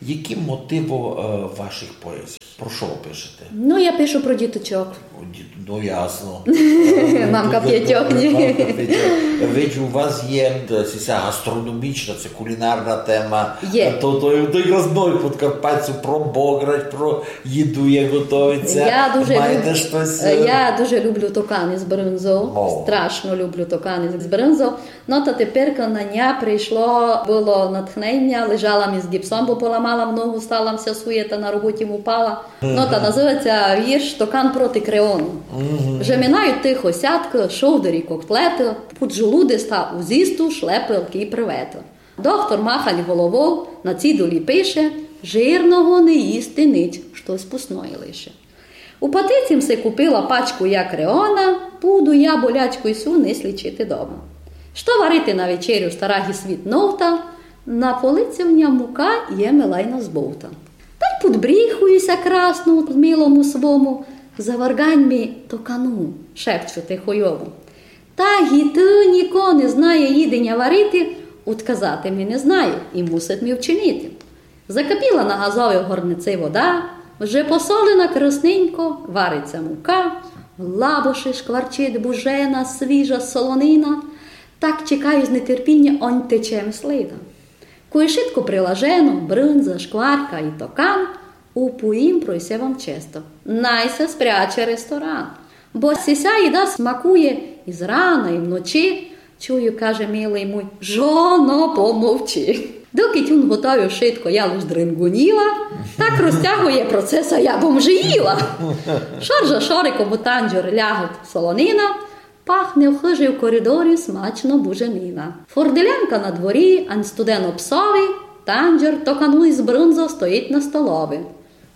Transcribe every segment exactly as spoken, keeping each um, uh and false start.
Які мотивы е, ваших поезій? Про што вы пишете? Ну, я пишу про діточок. О, ді- Ну, ясно. Мамка пятьох, ні? Мамка пятьох. Виджу, у вас є е, сися гастрономічна, се кулінарна тема. Є. То, то, то якраз много подкарпатців про Бограч, про їду, як готовить ся. Я дуже Маєте люб- штось? е, Я дуже люблю токан из брынзов. О. Страшно люблю токан из брынзов. Но та теперь на ня прийшло было натхненя, лежала ми з гіпсом, бо поламала ногу, стала ся суєта, на роботі м упала. Но та называть ся вірш «Токан проти креону». Жеминают тихо сяткы, шовдарі, котлеты, пуд желудеста у зїсту шлепелкы и приветы. Доктор махать головов, на цидулї пише: жирного не їсти нич, штось пусноє лише. У патиці м си купила пачку я креона, буду я болячку сю нись лічити дома. Што варити на вечерю, стара ги світ новта, на полици в ня мука є милайно збовта. Тай пудбріхую ся красно милому свому, заваргань ми токану, шепчу тихо йому. Та ги ты, нико не знає їденя варити, удказати ми не знає и мусить ми вчинити. Закипіла на газовій горници вода, вже посолена красненько, варить ся мука, в лабоши шкварчить бужена, свіжа солонина. Так чекаю з нетерпіня, онь тече ми слина. Кой шытко прилажено, брынза, шкварка и токан, уповім про се вам често: най ся спряче ресторан. Бо сися їда смакує и зрана, и вночи. Чую, каже милый муй: жоно, помовчи. Докы м готовю шытко, я лиш дрингуніла, так розтягує процеса, я бом же їла. Шоржа шориком у танджор лягать солонина, пахне в хыжи, в коридорі смачно буженина. Форделянка на дворі, ань студено псови, танджор токану из брынзов стоїть на столови.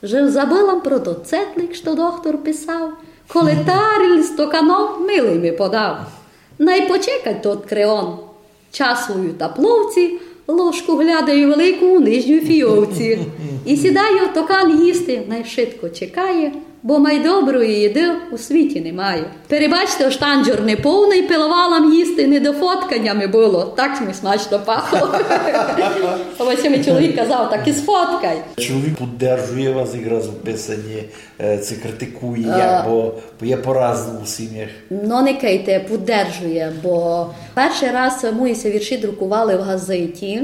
Же забыла м про тот цетлик, што доктор писав, коли таріль з токаном милый ми подав. Най почекать тот креон час свою та пловці, ложку глядаю велику у нижнюй фійовці. И сідаю токан їсти, най шытко чекає, бо май доброї їды у світі не має. Перебачте, ож танджор не повный, пиловала м їсти, не до фотканя ми было, так ми смачно пахло. Ось мій чоловік казав: так и сфоткай. Чоловік поддержує вас якраз у писанї, е, ци критикує, як, бо є по-разному в сімях. Но, никайте, поддержує, бо першый раз мої ся вірші друкували в газеті,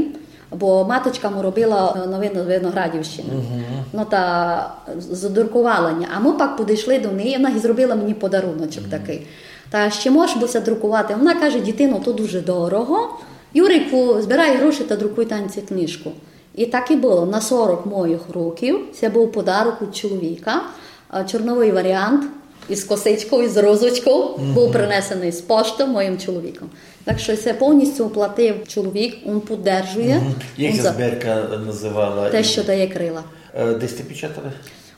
бо маточка му робила новины Виноградівщины. Но та з-, задрукувала ня. А мы пак подышли до неї, вона й зробила мені подаруночок такый. Та ще можеш бы ся друкувати? Вона каже: дітино, то дуже дорого. Юрику, збирай гроші та друкуй танці книжку. И так и было. На сорок моїх років, се быв подарок од чоловіка, а, чорновый варіант из косичков, из розочков, быв принесеный з пошты моїм чоловіком. Так што се повністю оплатив чоловік, он поддержує. Як ся збірка называла? Те, што дає крила. Е, де сьте печатали?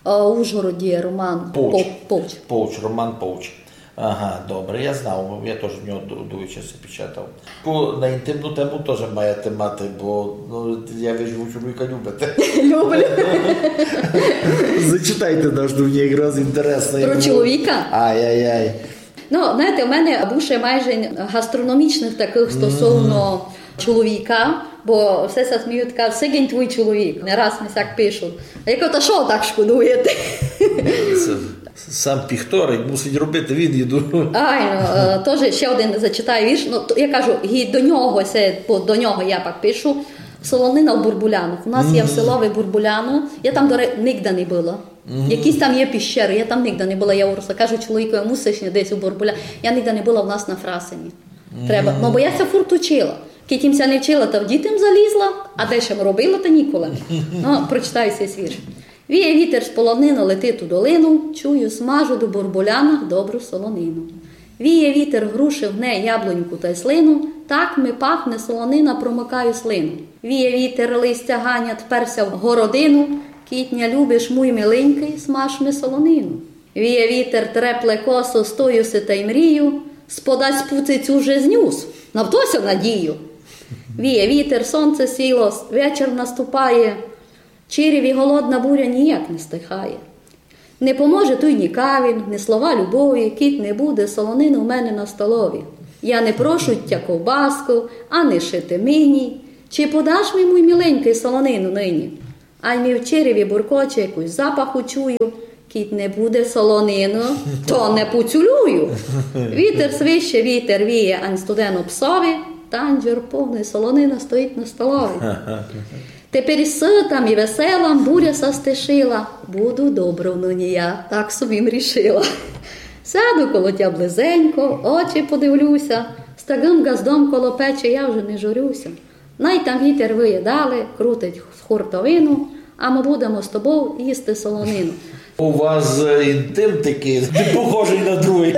Е, у Ужгороді, Роман Повч. Пов-, Повч. Повч, Роман Повч. Ага, добре, я знав, я тоже в нього ду-, дуже часто печатав. Ку-, на інтимну тему тоже маєте мати, бо, ну, я вижу, вы чоловіка любите. Люблю. Зачитайте наш, ну, мені якраз інтересно. Про чоловіка? Ай-яй-яй. Ну, знаєте, у мене більше майже гастрономічных такых стосовно чоловіка, бо все ся сміють, кажуть: сигень твій чоловік, не раз ми сяк пишуть. А я кажу: та што так шкодуєте? Се сам піхторить, мусить робити, він їду. Айно, е, тоже ще один зачитаю вірш. Ну, то, я кажу, і до нього, се, бо до нього я пак пишу. Солонина в бурбулянах. У нас є в селови Бурбуляно. Я там, до ре-, нигде не была. Якісь там є піщеры, я там нигде не была, я уросла. Кажу чоловікови: мусиш десь у Бурбуля. Я нигде не была, у нас на Фрасині. Треба. Ну, бо я ся фурт учила. Кидь им ся не вчила, та в діти м залізла, а де ся м робила, та ніколи. Ну, прочитаю сей вірш. Віє вітер з полонины, летить у долину, чую, смажу до бурбулянах добру солонину. Віє вітер, груши гне, яблуньку тай слину, так ми пахне солонина, промокаю слину. Віє вітер, листя ганять, перся в городину, кидь ня любиш, муй миленькый, смаж ми солонину. Віє вітер, трепле косо, стою си тай мрію, сподасть пуцицю вже знюс, на вто ся надію. Віє вітер, сонце сіло, вечір наступає, чирів и голодна буря ніяк не стихає. Не поможе туй ні кавін, ні слова любові, кидь не буде солонины у мене на столові. Я не прошу тя ковбаску, а не шити мині. Чи подаш ми, муй миленькый, солонину нині? Ай ми в череві буркоче, якусь запаху чую, кідь не буде солонину, то не поцюлюю. Вітер свище, вітер віє, ань студено псови, танджер повный солонина стоїть на столови. Тепер сытам і веселам буря ся стишила, буду добров нині я, так собі м рішила. Сяду коло тя близенько, очі подивлюся, з такым ґаздом коло печі я вже не журюся. Най там вітер виє далі, крутить хуртовину, а мы будемо з тобов їсти солонину. У вас е, інтим такий, не похожий на другий.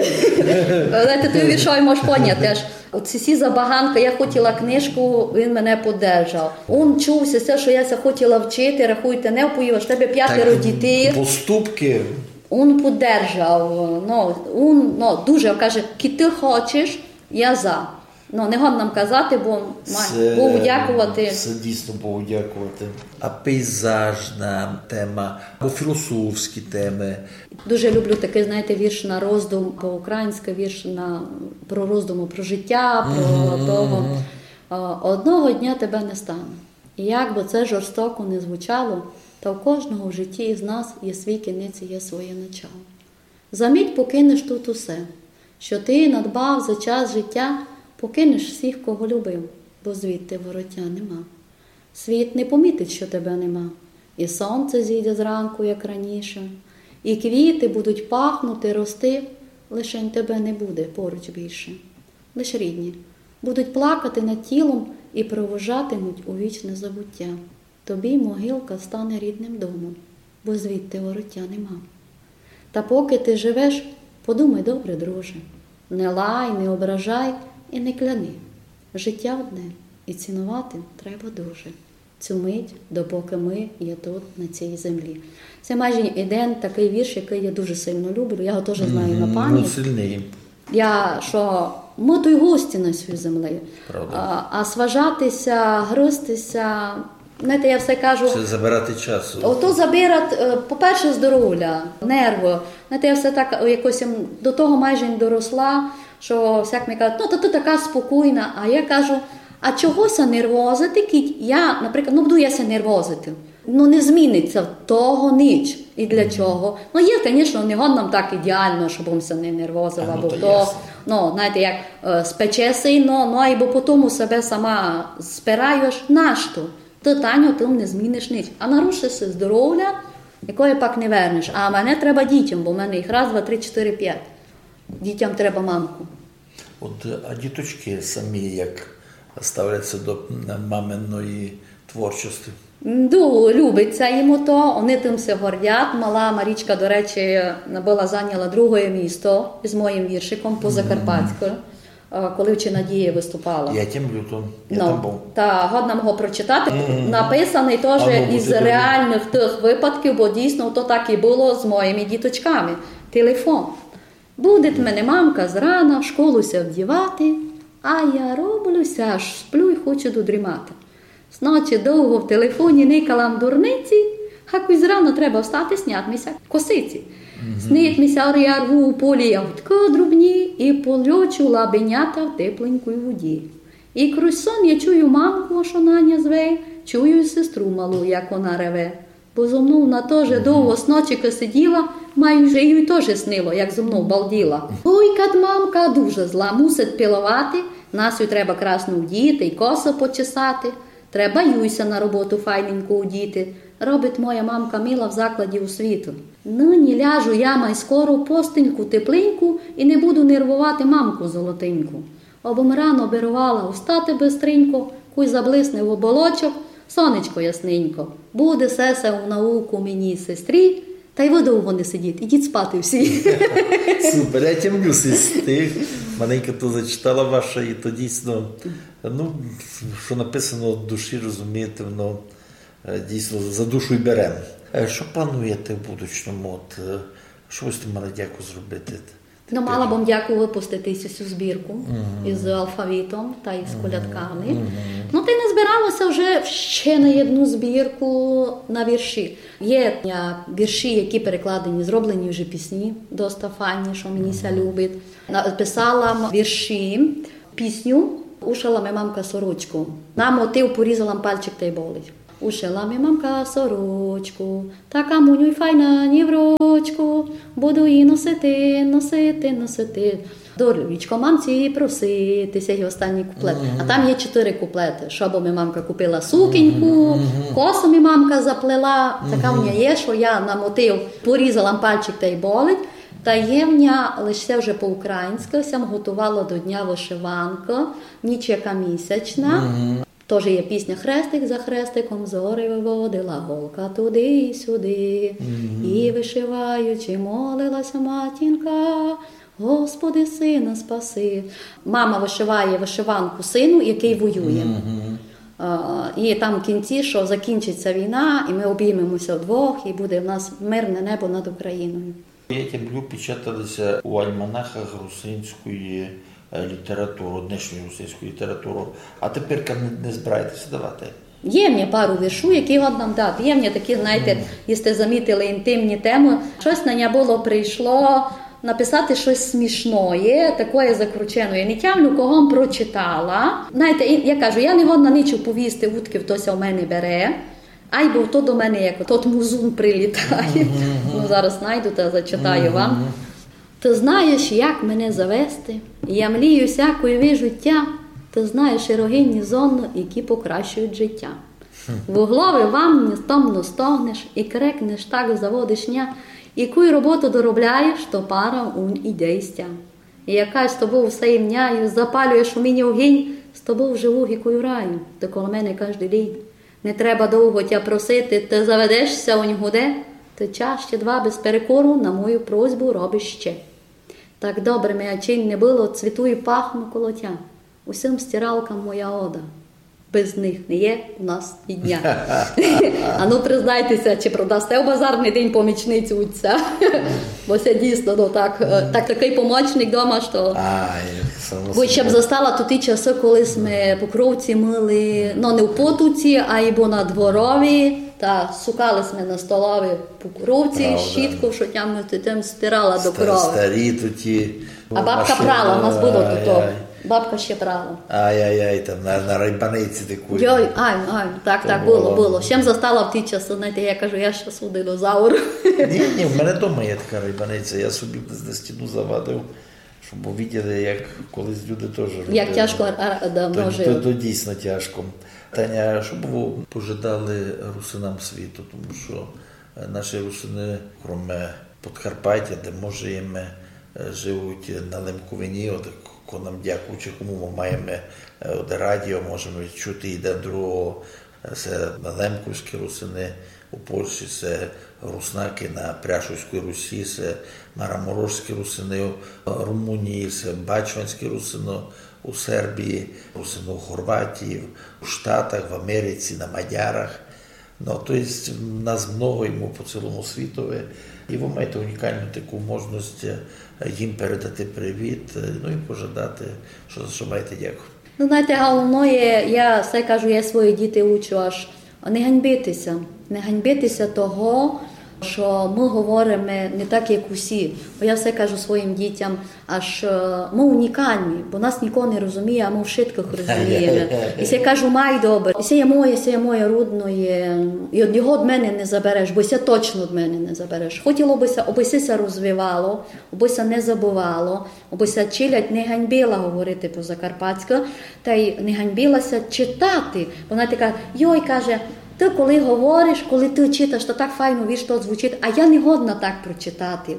Але ти той віршой можеш поняти теж. Оці всі забаганки, я хотіла книжку, він мене поддержав. Он чув ся, що я ся хотіла вчити, рахуйте, не вповів, аж тебе пятеро дітей. Поступки. Он поддержав, ну, он, ну, дуже, каже, кідь ти хочеш, я за. Ну, не годна м казати, бо ма-, Богу дякувати. Це дійсно Богу дякувати. А пейзажна тема, або філософські теми. Дуже люблю такий, знаєте, вірш на роздум, по-українськи вірш на, про роздуму, про життя, про того. А, одного дня тебе не стане. І як би це жорстоко не звучало, та в кожного в житті із нас є свій кінець і є своє начало. За мить покинеш тут усе, що ти надбав за час життя, покинеш всіх, кого любив, бо звідти вороття нема. Світ не помітить, що тебе нема, і сонце зійде зранку, як раніше, і квіти будуть пахнути, рости, лишень тебе не буде поруч більше. Лиш рідні будуть плакати над тілом і провожатимуть у вічне забуття. Тобі могилка стане рідним домом, бо звідти вороття нема. Та поки ти живеш, подумай добре, друже. Не лай, не ображай і не кляни. Життя одне, і цінувати треба дуже цю мить, допоки ми є тут, на цій землі. Це майже єден такий вірш, який я дуже сильно люблю. Я його теж знаю на пам'ять. Сильний. Я, що мы туй гості на сій землі. Правда. А, а сважати ся, гризти ся, знаєте, я все кажу, це забирати час. Ото забирать, е, по-перше, здоровля, нерви. Знаєте, я все так, е, якось м, до того майже й доросла, що всяк ми кажуть: «Ну, та ти така спокійна». А я кажу: «А чого ся нервозити, кідь я, наприклад, ну, буду я ся нервозити? Ну, не змінить ся того ніч. І для чого?» Ну, є, звісно, не годно так ідеально, щоб ся не нервозила, бо то, ну, знаєте, як е, спече сильно, ну, айбо потім себе сама спираєш, нашто? Ти, Таню, тым не зміниш ніч. А нарушиш си здоровля, якоє пак не вернеш. А мене треба дітям, бо в мене їх раз, два, три, чотири, пять. Дітям треба мамку. От, а діточки самі як ставляться до маминої творчості? Ду, любить ся їм ото, вони тым ся гордять. Мала Марічка, до речі, была, зайняла друге місто з моїм віршиком по закарпатську, е, коли в Чинадії выступала. Я тямлю то, я там быв. Та годна м го прочитати. Написаний теж із реальних тых выпадків, бо дійсно то так і было з моїми діточками. Телефон. Будить мене мамка зрана в школу ся вдівати, а я роблю ся, аж сплю й хочу додрімати. Зночі довго в телефоні никала м дурниці, а куй зрана треба встати, снять ми ся косиці. Снить ми ся, я рву у полі ягодкы дрібні і польочу лабенята в тепленькій воді. І крізь сон я чую мамку, што наня зве, чую й сестру малу, як она реве. Бо зо мнов она тоже довго сночикы сиділа, майже їй тоже снило, як зо мнов балділа. Ой, кад мамка дуже зла, мусить пиловати, нас ю треба красно вдіти й косы почесати. Треба юй ся на роботу файненько удіти. Робить моя мамка мила в закладі освіты. Нині ляжу я май скоро в постельку тепленьку і не буду нервовати мамку золотеньку. Обым рано беровала устати быстренько, куй заблисне в оболочок сонечко ясненько. Буде сесе у науку мені, сестрі, та й вы довго не сидіть, ідіть спати всі. Супер, я тямлю сей стих. Маленька то зачитала ваша, і то дійсно, ну, що написано від душі, розумієте, воно е, дійсно за душу й бере. Е, Що плануєте в будучому? От, е, що ви з тим мали дяку зробити? Ну, мала бым дяку выпустити сю збірку із алфавітом та із колядками. Ну, та й назбирало ся вже ще на одну збірку на вірші. Є, е, вірші, які перекладені, зроблені вже пісні, доста файні, що мені ся любить. Написала м вірші, пісню «Ушила ми мамка сорочку». На мотив «Порізала м пальчик та й болить». Ушила ми мамка сорочку, така муню й файна ніврочку, буду її носити, носити, носити. Доручко мамці просити, сей останній куплет. А там є чотири куплети. Шобу ми мамка купила сукеньку, косу ми мамка заплела, така в неї є, що я на мотив порізала пальчик та й болить. Та є в ня, лише це вже по-українськи, сям готувала до дня вишиванки, ніч яка місячна. Тоже є пісня: «Хрестик за хрестиком зорі виводила, голка туди й сюди. І вишиваючи, молилася матінка: Господи, сина спаси». Мама вишиває вишиванку сину, який воює. А, і там в кінці, що закінчиться війна, і ми обіймемося вдвох, і буде в нас мирне небо над Україною. Як я люблю, печатали ся у альманахах русинської, е, літератури, днешньої русинської літератури. А тепер не, не збираєте ся давати? Є в мене пару віршу, які годна дати. Є в мене такі, знаєте, якщо замітили, інтимні теми. Щось на ня було прийшло написати щось смішноє, такоє закручене. Я не тямлю, кого м прочитала. Знаєте, і я кажу, я не годна нич оповісти, удкы то ся в мене бере. Айбо то до мене як тот музун прилітає. Ну, зараз найду та зачитаю вам. Ты знаєш, як мене завести, я млію сякой вижу тя, ты знаєш і рогині зонно, які покращують життя. В углови ванні томно стогнеш і крекнеш, так заводиш ня, і куй роботу доробляєш, то пара унь іде із тя. І якась з тобов все імняю, запалюєш у мені огінь, з тобов живу гікую раю, ты коло мене каждый день. Не треба довго тя просити, ты заведеш ся унь гуде, ты час ще два без перекору на мою просьбу робиш ще. Так добре ми ачинь не было, цвіту і пахну коло тя. Усім стиралкам моя ода. Без них не є у нас і дня. А ну, признайте ся, чи продасте у базарный день помічницю отця? Бо се дійсно, ну, так, е, так, такый помочник дома, што... Ай, само Бо ще б собою. Застала туті часы, коли сьме покровці мыли, ну, не в потоці, айбо на дворові, та сукали сьме на столові покровці, щітков, што тямлю, ти тым стирала до крови. Старі туті. А бабка прала, у нас было туто. Бабка ще прала. Ай-яй-яй, там на, на райбаниці такої. Йой, ай, ай, так, так, было, было. Ще м застала в ті часы, знаєте, я кажу, я щас у динозавр. Ні, ні, в мене дома є така райбаниця, я собі на стіну завадив, щоб виділи, як колись люди теж робили. Як тяжко, а, а, давно жили. То дійсно тяжко. Таня, што бы вы пожадали русинам світу, тому што, е, наші русины, кроме Подкарпатя, де мы жиєме, е, живуть на Лемковині, от, ко-, нам дякуючи кому мы маєме, е, от, радіо, можеме чути єден другого, е, се лемковські русины у Польщі, се руснакы на Пряшівській Русі, се мараморошські русины у Румунії, се бачванські русины у Сербії, русины у Хорватії, у Штатах, в Америці, на мадярах. Ну, то єсть, нас много, і мы по цілому світови. І вы маєте унікалну таку можность, е, їм передати привіт, е, ну і пожадати, што, за што маєте дякувати. Ну, знаєте, головноє, я все кажу, я свої діти учу, аж не ганьбити ся. Не ганьбити ся того, што мы говориме не так, як усі. Бо я все кажу своїм дітям, аж, е, мы унікалні, бо нас ніко не розуміє, а мы вшыткых розумієме. І ся кажу, май добре. І се є моє, се є моє рудноє. І од нього од мене не забереш, бо се точно од мене не забереш. Хотіло бы ся, обы се ся розвивало, обы ся не забывало, обы ся челядь не ганьбила говорити по-закарпатськы, та й не ганьбила ся читати. Вона така, йой, каже, ты коли говориш, коли ты читаш, то так файно, віж, то звучить, а я не годна так прочитати.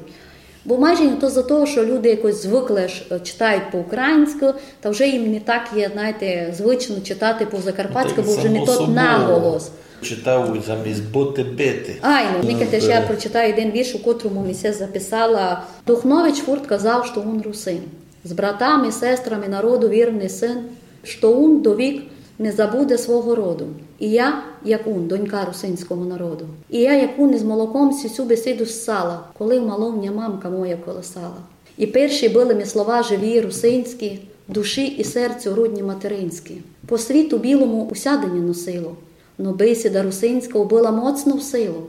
Бо майже не то за того, што люди якось звыкли, аж, е, читають по-українськы, та вже їм не так є, знаєте, звично читати по-закарпатськы, бо вже не тот наголос. Читав замість быти, бити. Айно, никайте, ще я прочитаю єден вірш, у котрому ми ся записала. Духнович фурт казав, што ун русин. З братами, сестрами народу вірный сын, што ун довік не забуде свого роду. І я, як ун, донька русинського народу. І я, як ун, із молоком сю бесіду ссала, коли в малому ня мамка моя колисала. І перші были ми слова живі, русинські, душі і серцю рудні материнські. По світу білому усяде ня носило, но бесіда русинська убыла моцну силу,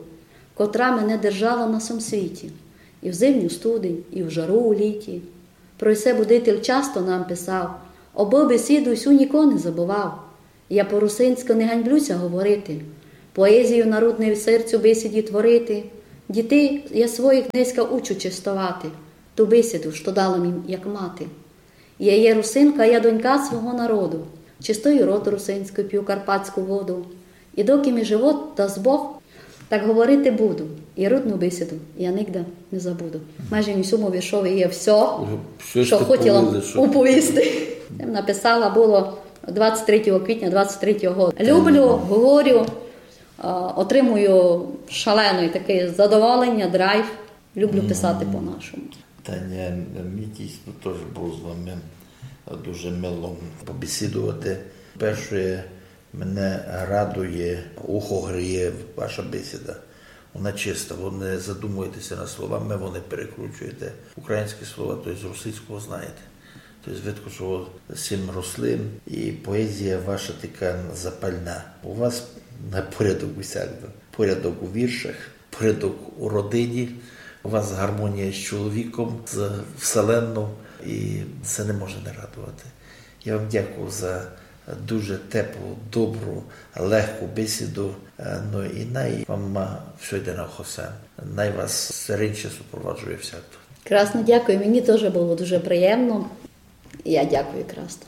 котра мене держала на сьому світі. І в зимню студень, і в жару у літі. Про се будитель часто нам писав, обы бесіду сю ніко не забывав. Я по-русинськы не ганьблю ся говорити. Поезію народну в серцю бисіді творити. Дітей я своїх днеська учу честовати, ту бисіду, што дала їм як мати. Я є русинка, я донька свого народу. Чистую род русинськый, пю карпатську воду. І доки ми живот дасть Бог, так говорити буду. І родну бисіду я нигде не забуду. Майже в сьому віршови є всьо, Всьо што сте хотіла повіли, што уповісти. Я написала было двадцять третього квітня двадцять третього году. Люблю, говорю, а, отримую шалене таке задоволення, драйв. Люблю писати по-нашому. Таня, мені дійсно теж було з вами дуже мило побесідувати. Перше, мене радує, ухо гріє ваша бесіда. Вона чиста, ви не задумуєтеся над словами, ви не перекручуєте українські слова, тобто з російського знаєте. Тобто видко, що ви з цим росли, і поезія ваша така запальна. У вас на порядок усякде. Порядок у віршах, порядок у родині, у вас гармонія з чоловіком, з вселенною, і це не може не радувати. Я вам дякую за дуже теплу, добру, легку бесіду. Е, ну і най вам, а, все йде на хосе. Най вас серенче супроваджує всякто. Красно дякую, мені теж було дуже приємно. Я дякую красно.